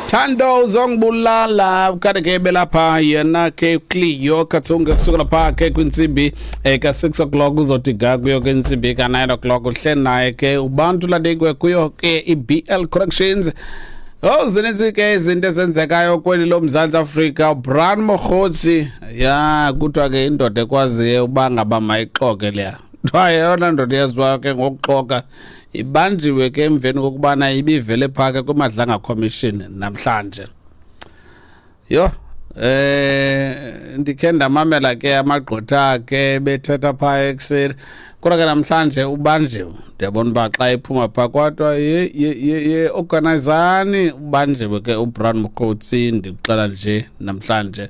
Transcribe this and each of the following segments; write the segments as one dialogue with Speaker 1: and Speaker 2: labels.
Speaker 1: Thando uzongibulala kanti ke belapha yena ke Cleo Kathunga kusuka lapha ke kwintsimbi ka 6 o'clock uzothi ga kuyo ke intsimbi ka 9 o'clock uhle naye ke ubantu ladikwe kuyo ke iBL Corrections. Oh, zininzi ke izinto ezenzekayo kweli loMzantsi Afrika. Brown Mogotsi, ya kuthiwa ke indoda ekwaziyo uba ngaba mayixoke leya. Kuthiwa yeyona ndoda eyaziwayo ke ngokuxoka, ibanjiwe ke emveni kokubana ibivele phaa ke kwiMadlanga Commission namhlanje. Yho, ndikhe ndamamela ke amagqwetha ke bethetha phaa ekuseni, kodwa ke namhlanje ubanjiwe. Ndiyabona uba xa ephuma phaa kodwa ye ye ye ye organizani, ubanjiwe ke uBrown Mogotsi. Ndikuxela nje namhlanje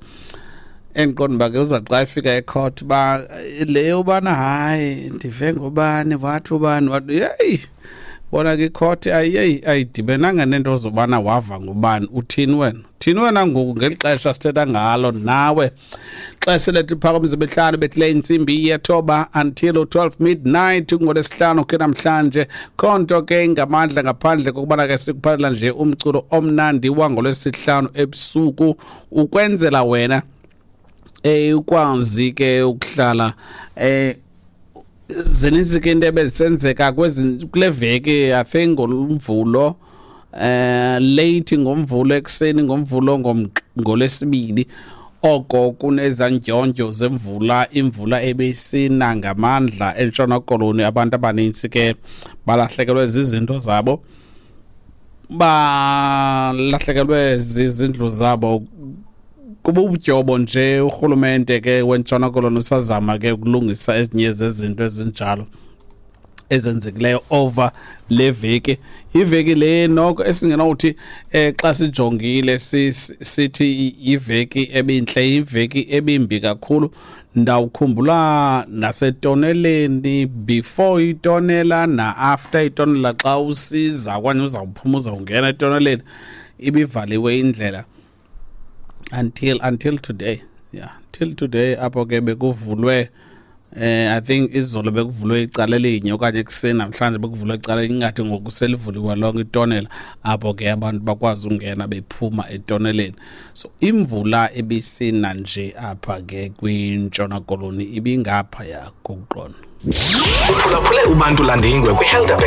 Speaker 1: endiqonda uba ke uza xa efika ecourt uba le yobana hayi ndive ngobani wathi ubani wathi, yeyi bona ke icourt ayeyi ayidibenanga nento zobana wava ngubani. Uthini wena, uthini wena ngoku ngeli xesha sithetha ngalo nawe? Xesha lethu phaka imihlanu bethileyo intsimbi yethoba until 12 midnight ngolwesihlanu ke namhlanje. Khonto ke ngamandla ngaphandle kokubana ke sikuphathela nje umculo omnandi wangolwesihlanu ebusuku ukwenzela wena ukwazi ke ukuhlala. Zininzi ke into ebezisenzeka kwezi kule veki. I think ngomvulo, late ngomvulo ekuseni, ngomvulo, ngolwesibini oko kunezandyondyo zemvula, imvula ebesina ngamandla eNtshona Koloni. Abantu abanintsi ke balahlekelwe zizinto zabo, balahlekelwe zizindlu zabo kububutyobo nje. Urhulumente ke weNtshona Koloni usazama ke ukulungisa ezinye zezinto ezinjalo ezenzekileyo over le veki. Iveki le noko esingenawuthi xa sijongile sithi iveki ebintle, iveki ebimbi kakhulu. Ndawukhumbula nasetoneleni, before itonela na-after itonela, xa usiza okanye uzawuphuma uzawungena etoneleni, ibivaliwe indlela until today, yeah, till today, apho ke bekuvulwe, I think izolo bekuvulwe icala elinye okanye ekuseni namhlanje bekuvulwe icala elinye, ingathi ngoku selivuliwe lonke itonela, apho ke abantu bakwazi ungena bephuma etoneleni. So imvula ebisina nje apha ke kwiNtshona Koloni ibingaphaya kokuqonda.
Speaker 2: Uphulaphule uBantu Landingwe kwiHelderberg.